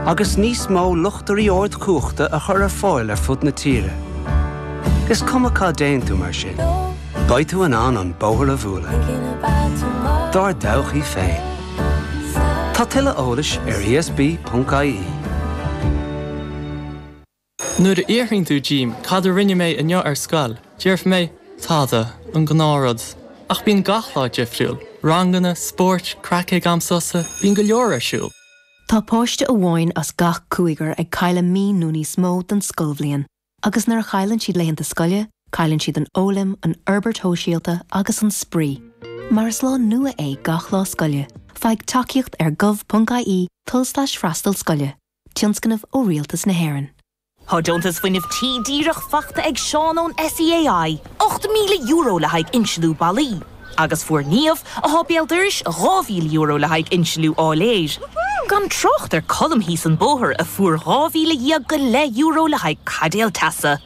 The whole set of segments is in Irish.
Agus níos mó luchtairí ardchumhachta a chur ar fáil ar fud na tíre. Is cuma cá dtéann tú mar sin, beidh tú in ann an bóthar a bhualadh. Dár dtodhchaí féin. Tá tuilleadh eolais ar ESB.ie. Nuair a fhiafraíonn tú díom cad a rinne mé inniu ar scoil, déarfaidh mé, tada, an gnáthrud. Ach bíonn gach lá difriúil, ranganna, spóirt, craic ag am sosa, bíonn go leor ar siúl. Tá páiste amháin as gach cúigear ag cailleadh mí nó níos mó den scoilbhliain. Agus nuair a chailleann siad laethanta scoile, cailleann siad an fhoghlaim, an fhorbairt shóisialta agus an spraoi. Mar is lá nua é gach lá scoile, faigh tacaíocht ar gov.ie tulslais freastal scoile. Tionscnamh ó Rialtas na hÉireann. Tá deontas fuinnimh tí díreach faighte ag Seán ón SEAI, €8,000 le haghaidh insliú ballaí. Agus fuair Niamh, atá béal dorais, €2,000 le haghaidh insliú áiléir. Gan trácht ar Colm thíos an bóthar a fuair €12,000 go leith le haghaidh caidéal teasa.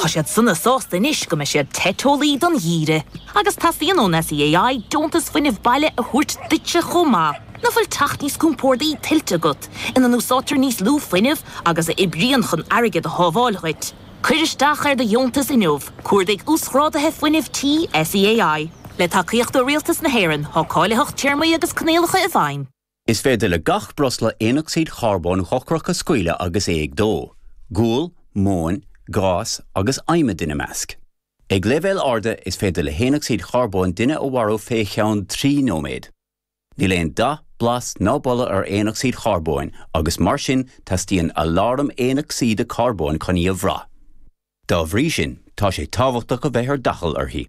Tá siad sona sásta anois go mbeidh siad te teolaí don gheimhreadh. Agus teastaíonn ón SEAI deontas fuinnimh baile a thabhairt duitse chomh maith. Nach bhfuil teach níos compórdaí tuillte agat, ina n-úsáidtear níos lú fuinnimh agus a oibríonn chun airgead a shábháil dhuit? Cuir isteach ar do dheontas inniu, cuardaigh Uasghráduithe Fuinnimh Tí SEAI. Le tacaíocht ó Rialtas na hÉireann, tá cáilitheacht, téarmaí agus coinníollacha i bhfeidhm. Is féidir le gach breosla aonocsaíd charbóin dhochrach a scaoileadh agus é ag dó, gual, móin, gás agus adhmad ina measc. Ag leibhéil arda, is féidir le haonocsaíd charbóin duine a mharú fé cheann 3 nóiméad. Níl aon dath, blas ná boladh ar aonocsaíd charbóin agus mar sin teastaíonn aláram aonocsaíde carbóin chun í a bhrath. Dá bhrí sin, tá sé tábhachtach a bheith ar d'fhaichill uirthi.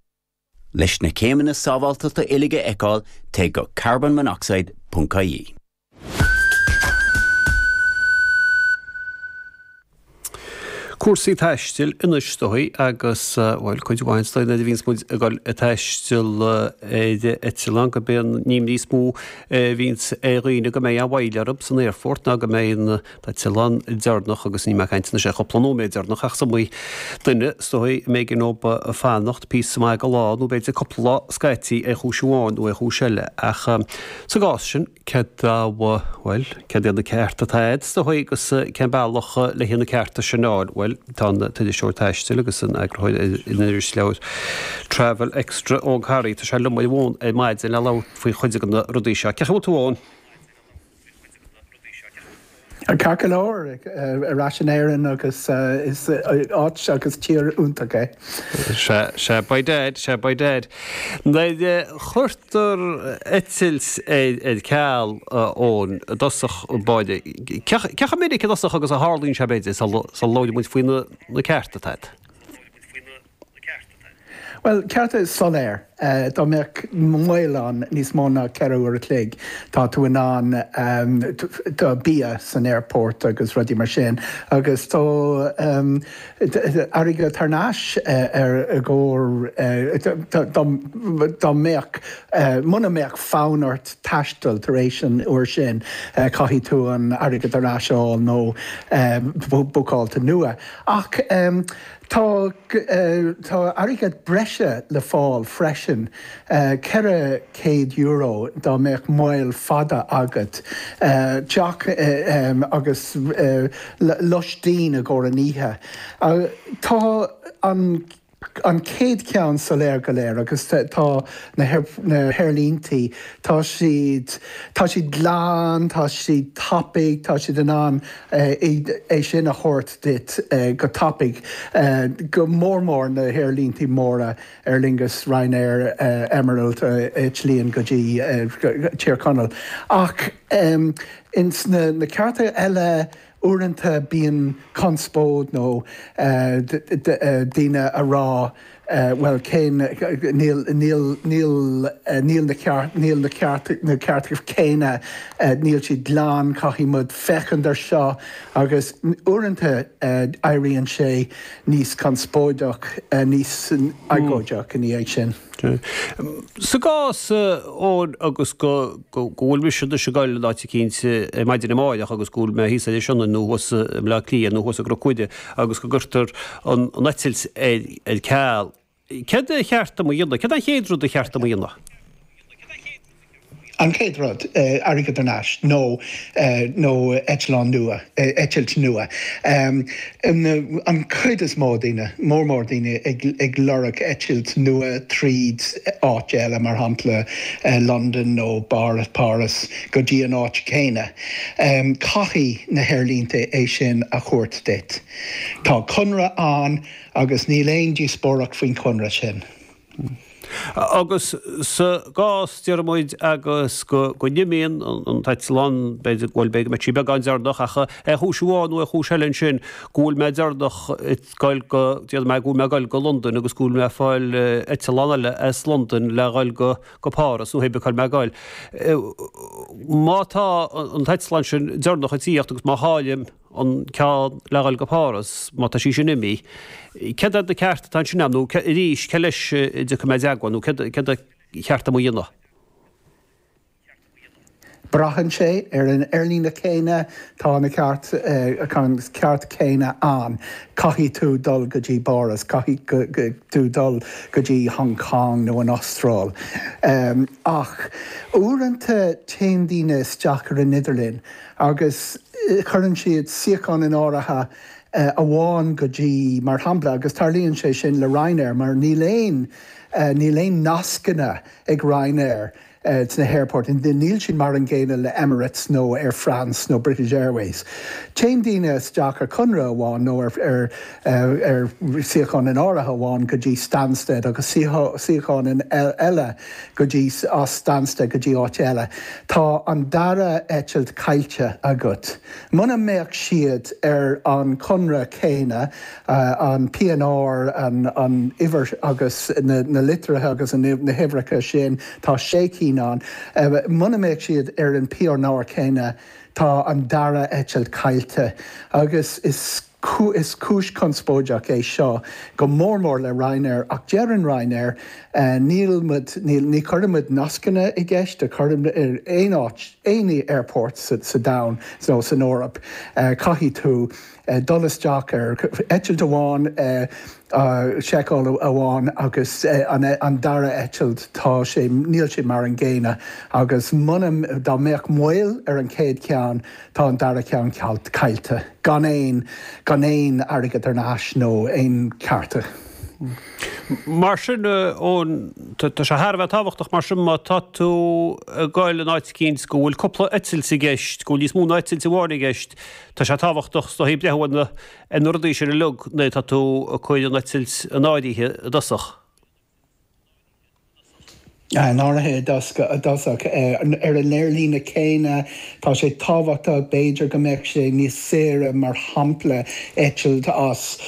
Leis na céimeanna sábháilteachta uilig a fheiceáil, téigh go carbonmonoxide ponc ie. Cúrsaí taistil anois is dóigh agus, bhuel, cuid mhaith is dóigh nuair a bhíonns muid ag dul ag taisteal ar eitleán gurb é an imní is mó a bhíonns ar dhaoine go mbeidh an mhoill orthu san aerfort ná go mbeidh an t-eitleán deireanach agus níl mé ag caint anois ar chúpla nóiméad deireanach ach is iomaí duine is dóigh a mb'éigean dóibh fanacht píosa maith de lá nó b'fhéidir cúpla lá scaití ar chúis amháin nó ar chúis eile ach sa gcás sin céard a bhuel céard iad na cearta atá agat is dóigh agus cén bealach le na cearta sin a fháil bhuel tá an t-iriseoir taistil agus an eagarthóir ar an irisleabhar Travel Extra Eoghan Carey tá sé liom ar an bhfón ar maidin le labhairt faoi chuid de na rudaí seo. Cén chaoi a bhfuil tú Eoghan? Ceart go leor, ar ais in Éirinn agus is áit agus tír iontach é. Sea, sea, by dad, sea, by dad. Nuair a chuirtear eitilt ar ceal Eoin i dtosach báire, cé chomh minic i dtosach agus a tharlaíonn sé b'fhéidir sula labhraíonn muid faoi na cearta atá agat? Bhuel, cearta soiléir. Dá mbeadh moill ann níos mó ná 4 uair a chloig, tá tú in ann, tá bia san aerport agus rudaí mar sin agus tá airgead thar n-ais ar i gcomhair dá mbeadh, muna mbeadh fonn ort taisteal tar éis an uair sin, caithfidh tú an airgead ar ais a fháil nó bookáilte nua. Ach Tá tá airgead breise le fáil freisin, €400 dá mbeadh moill fada agat, teach agus loistín i gcomhair an oíche. Tá an an chéad cheann soiléir go léir agus tá na haerlíntí, tá siad tá siad glan, tá siad tapaidh, tá siad in ann é sin a thabhairt duit go tapaidh, go mór mór na haerlíntí móra, Aer Lingus, Ryanair, Emerald a eitlíonn go dtí Tír Chonaill. Ach ins na cearta eile, uaireanta bíonn conspóid nó daoine a rá bhuel cén, níl, níl, níl, níl na ceart, níl na ceart, na cearta céanna, níl siad glan, caithfidh muid féachaint ar seo agus uaireanta éiríonn sé níos conspóideach, níos agóideach ina dhiaidh sin. Sa gcás, Eoin, agus go bhfuil mise anois ag dul in áit eicínt ar maidin amáireach agus go bhfuil mé thíos ar Inis Sionainn nó thuas i mBleá Cliath nó thuas i gCnoc Mhuire agus go gcuirtear an eitilt ar ceal, céard a cheart dom a dhéanamh? Céard é an chéad rud a cheart dom a dhéanamh? An chéad rud, airgead thar n-ais nó nó eitleán nua, eitilt nua. An chuid is mó daoine, mór mór daoine ag lorg eitilt nua tríd áit eile, mar shampla Londain nó Páras go dtí an áit chéanna. Caithfidh na haerlínte é sin a thabhairt duit. Tá conradh ann agus níl aon díospóireacht faoin chonradh sin. Agus sa gcás, déarfaidh muid, agus go n-imíonn an t-eitleán, b'fhéidir, bhuel, b'fhéidir go mbeidh sí beagán deireanach, ach ar chúis amháin nó ar chúis eile ansin, go bhfuil mé deireanach ag goil go, déarfaidh mé go bhfuil mé ag goil go Londain agus go bhfuil mé ag fáil eitleán eile as Londain le dhul go, go Páras nó hé bith cá bhfuil mé ag goil. Má tá an t-eitleán sin deireanach ag tíocht agus má chaillim, an ceann le dhul go Páras, má tá sí sin imithe, céard iad na cearta atá ansin agam, nó arís, cé leis a dtiocfaidh mé i dteagmháil, nó céard céard ba cheart dom a dhéanamh? Braitheann sé ar an aerlíne céanna, tá na ceart, an ceart céanna ann. Caithfidh tú dul go dtí Páras, caithfidh tú dul go dtí Hong Kong nó an Astráil. Ach uaireanta téann daoine isteach ar an idirlíon agus cuireann siad suíochán in áirithe amháin go dtí, mar shampla, agus tarlaíonn sé sin le Ryanair mar níl aon, níl aon nascanna ag Ryanair sna haerfoirt, níl siad mar an gcéanna le Emirates nó Air France nó British Airways. Téann daoine isteach ar chonradh amháin nó ar, ar, ar suíochán in áirithe amháin go dtí Stansted agus suíochán in eile go dtí as Stansted go dtí áit eile. Tá an dara eitilt caillte agat. Muna mbeadh siad ar an chonradh céanna, an PNR, an uimhir agus na litreacha agus na huimhreacha sin, tá sé cinn ann, muna mbeadh siad ar an PNR céanna, tá an dara eitilt caillte agus is. Is cúis conspóideach é seo, go mór mór le Ryanair, ach deireann Ryanair, níl muid, níl, ní chuireann muid nascanna i gceist a chuireann ar aon áit, aon airport sa domhan nó san Eoraip, caithfidh tú dul isteach ar eitilt amháin, seiceáil amháin agus an dara eitilt, tá sé, níl sé mar an gcéanna agus muna, dá mbeadh moill ar an chéad cheann, Tá an dara ceann caillte, gan aon, gan aon airgead thar n-ais nó aon chearta. Mar sin, Eoin, tá sé thar a bheith tábhachtach mar sin má tá tú ag goil in áit eicínt go bhfuil cúpla eitilt i gceist, go bhfuil níos mó ná eitilt amháin i gceist, tá sé tábhachtach is dóichí breathnú ar na, ar na rudaí sin uilig nuair atá tú ag cur an eitilt in áirithe i dtosach. In áirithe i dtosach, ar an aerlíne céanna, tá sé tábhachtach, b'fhéidir go mbeadh sé níos saoire, mar shampla, eitilt as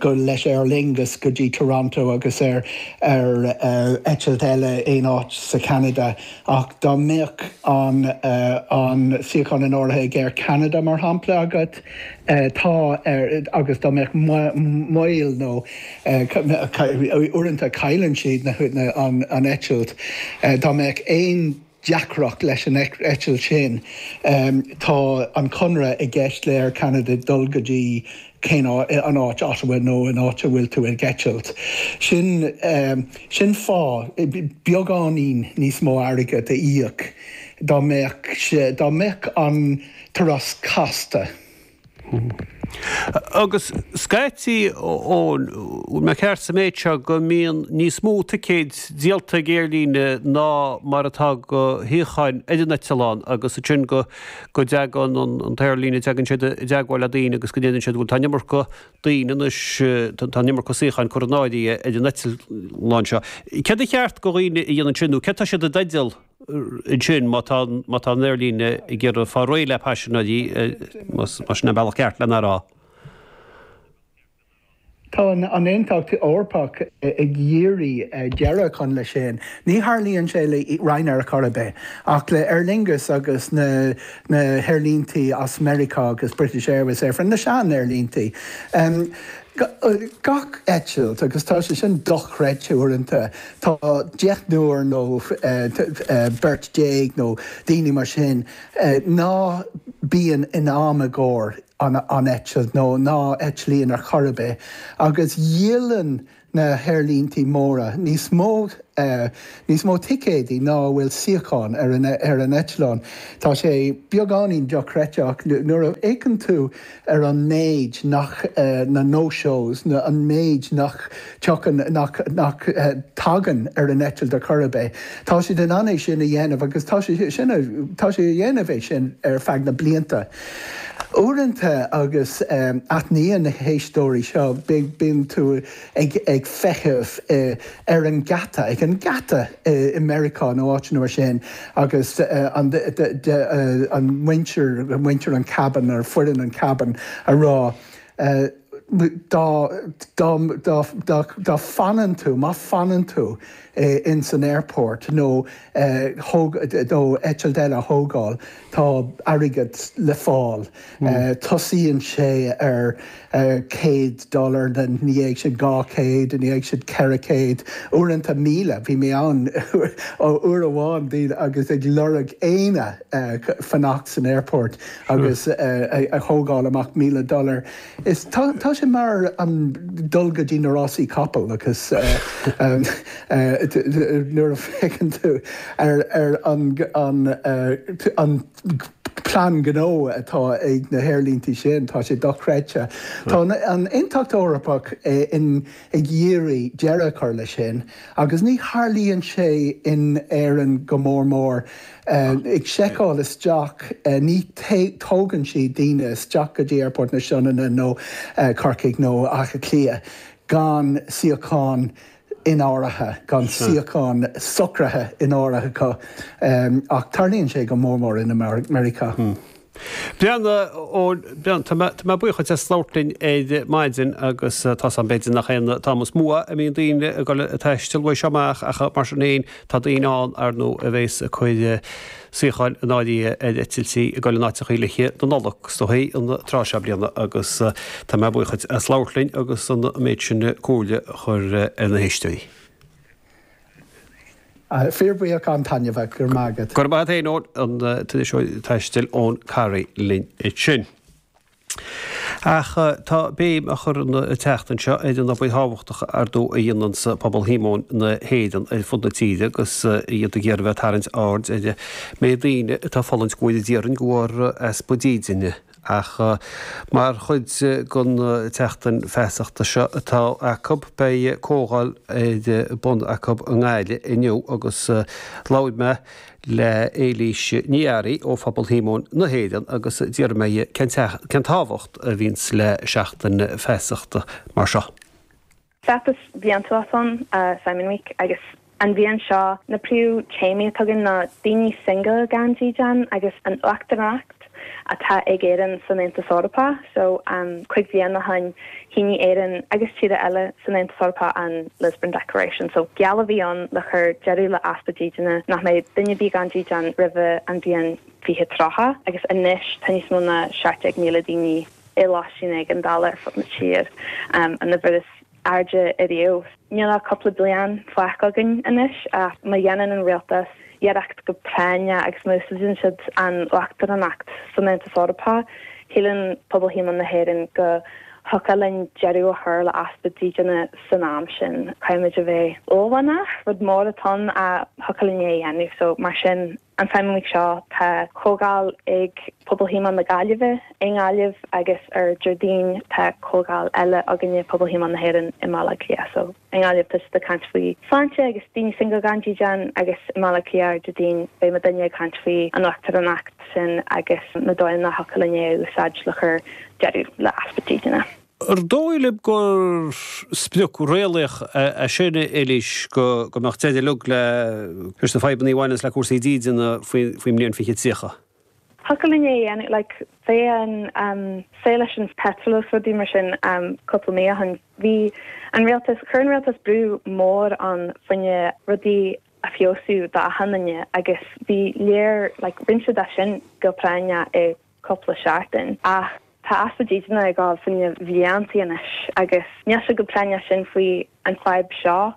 go leis Aer Lingus go dtí Toronto agus ar ar eitilt eile aon áit sa Cheanada ach dá mbeadh an an suíochán in áirithe ag Air Canada, mar shampla, agat, tá agus dá mbeadh moill nó Uaireanta cailleann siad an eitilt. Dá mbeadh aon deacracht leis an eitilt sin, tá an conradh i gceist le Air Canada dul go dtí cén an áit, Ottawa nó an áit a bhfuil tú ag eitilt. Sin sin fáth beagáinín níos mó airgead a íoc dá mbeadh dá mbeadh an turas casta. Agus scaití, Eoin, bhfuil mé ceart sa méid seo go mbíonn níos mó ticéid díolta ag aerlíne ná mar atá de shuíocháin ar an eitleán agus ansin go go dtagann an t-aerlíne, tagann siad i dteagmháil le daoine agus go ndeireann siad bhuel tá an iomarca daoine anois, tá an iomarca suíocháin curtha in áirithe ar an eitleán seo. Céard ba cheart do dhaoine a dhéanamh ansin nó céard tá siad i dteideal ansin má tá má tá an aerlíne ag iarraidh fáil réidh le paisinéirí, más sin an bealach ceart lena rá. Tá an Aontacht Eorpach ag iarraidh deireadh a chur leis sin. Ní tharlaíonn sé le Ryanair ar chor ar bith, ach le Aer Lingus agus na na haerlíntí as Meiriceá agus British Airways, Air France, na sean-aerlíntí. Gach eitilt, agus tá sé sin dochreidte uaireanta, tá deichniúr nó beirt déag nó daoine mar sin ná bíonn in am i gcomhair an eitilt nó ná eitlíonn ar chor ar bith agus dhíolann na haerlíntí móra níos mó. Níos mó ticéidí ná a bhfuil suíochán ar an ar an eitleán. Tá sé beagáinín dochreidte ach nuair a fhéachann tú ar an méid nach na no-shows, na an méid nach tiocfainn nach nach tagann ar an eitilt ar chor ar bith, tá siad in ann é sin a dhéanamh agus tá sé sin tá sé a dhéanamh é sin ar feadh na blianta. Uaireanta agus aithníonn na héisteoirí seo bíonn tú ag ag feitheamh ar an geata, ag an geata i Meiriceá nó áiteanna mar sin agus an an muintir, muintir an cabin nó foireann an cabin a rá dá dá dá dá dá fanann tú, má fanann tú ins an airport nó thóg nó eitilt eile a thógáil tá airgead le fáil. Tosaíonn sé ar 100 dollar, ina dhiaidh sin 200, ina dhiaidh sin 400, uaireanta 1,000. Bhí mé ann uair amháin daoine agus ag lorg éinne fanacht san airport agus a thógáil amach 1,000 dollar. Is tá sé mar an dul go dtí na rásaí capall agus nuair a fhéachann tú ar an an plean gnó atá ag na haerlíntí sin, tá sé dochreidte. Tá an Aontacht Eorpach ag iarraidh deireadh a chur leis sin agus ní tharlaíonn sé in Éirinn go mór mór. Ag seiceáil isteach, ní tógann siad daoine isteach go dtí Aerfort na Sionainne nó Corcaigh nó Áth Cliath gan suíochán in áirithe, gan suíochán socraithe in áirithe acu, ach tarlaíonn sé go mór mór in Meiriceá. Brian, Eoin, Brian, tá mé, tá mé buíoch duit as labhairt linn ar maidin agus tá 's agam b'fhéidir nach é an t-am is mó a mbíonn daoine ag dul ag taisteal uaidh seo amach ach mar sin féin tá daoine ann ar ndóigh a bhéas ag cur suíocháin in áirithe ar eitiltí ag dul in áiteachaí le haghaidh na Nollag is dóigh an tráth seo bliana agus tá mé buíoch duit as labhairt linn agus an méid sin comhairle a chur ar na héisteoirí. Fíorbhuíoch an-taitneamhach, go raibh maith agat. Go raibh maith agat féin Eoin, an t-iriseoir taistil Eoin Carey linn ansin. Ach tá béim á chur an tseachtain seo ar an obair thábhachtach ar ndóigh a dhéananns pobal Shíomóin na hÉireann ar fud na tíre agus iad ag iarraidh a bheith ag tarraingt aird ar an méid daoine atá ag fulaingt go bhfóire Dia orainn de bharr easpa dídine. Ach mar chuid den tseachtain feasachta seo atá acu beidh comhdháil ar bun acu i nGaillimh inniu agus labhair mé le Éilís Ní Fhearraigh ó Phobal Shíomóin na hÉireann agus d'fhiafraigh mé dhi cén tábhacht a bhíonns le seachtain feasachta mar seo. Feachtas bliantúil atá ann, Simon Week, agus an bhliain seo na príomh téamaí atá againn ná daoine single gan dídean agus an uachtaránacht atá ag Éirinn san Aontas Eorpach. So, 5 bhliain ó shoin, shínigh Éirinn agus tíortha eile san Aontas Eorpach an Lisbon Declaration. So, geall a bhí ann le chur deireadh le easpa dídine, nach mbeidh duine ar bith gan dídean roimhe an bhliain 2030. Agus anois tá níos mó ná 17,000 daoine i lóistín éigeandála ar fud na tír, an uimhir is airde ariamh. Níl ach cúpla bliain fágtha againn anois ach má dhéanann an rialtas iarracht go práinneach agus má úsáideann siad an uachtaránacht san Aontas Eorpach, shíleann pobal Shíomóin na hÉireann go thiocfadh linn deireadh a chur le easpa dídine san am sin. Caithfimid a bheith uaillmhianach, rud mór atá ann ach thiocfadh linn é a dhéanamh. So mar sin. An Simon Week seo, tá comhdháil ag Pobal Shíomóin na Gaillimhe i nGaillimh agus ar Déardaoin tá comhdháil eile againne, Pobal Shíomóin na hÉireann i mBaile Átha Cliath. So, i nGaillimh tá siad ag caint faoi sláinte agus daoine single gan dídean agus i mBaile Átha Cliath ar Déardaoin beidh muidinne ag caint faoi an uachtaránacht sin agus na dóigheanna a thiocfadh linn é a úsáid le cur deireadh le easpa dídine. Ar dóigh libh gur sprioc réalaíoch é sin, a Eilís, go mbeadh deireadh uilig leis na fadhbanna a bhaineanns le cúrsaí dídine faoin mbliain 2030? Thiocfadh linn é a dhéanamh, like, fé an saol leis an petrol agus rudaí mar sin cúpla mí ó shin, bhí an rialtas, chuir an rialtas brú mór ann fá choinne rudaí a feabhsú d'achan duine agus bhí léir, like, rinne siad é sin go práinneach i cúpla seachtain. Ach tá easpa dídine ag gabháil fá choinne bliantaí anois agus níl sé chomh práinneach sin faoi an fadhb seo.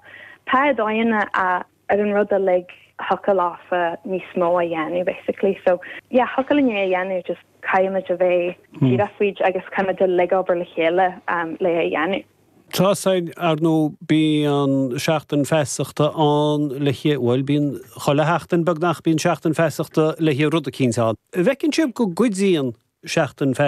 Tá dóigheanna ar an rud uilig thiocfadh leofa níos mó a dhéanamh basically. So yeah thiocfadh linn é a dhéanamh just caithfimid a bheith díreach faoi agus caithfimid uilig obair le chéile le é a dhéanamh. Tá sin, ar ndóigh, bíonn seachtain feasachta ann le haghaidh, bhuel, bíonn chuile sheachtain beagnach, bíonn seachtain feasachta le haghaidh rud eicínt ann. An bhfeiceann sibh go gcuidíonn seachtain feasachta?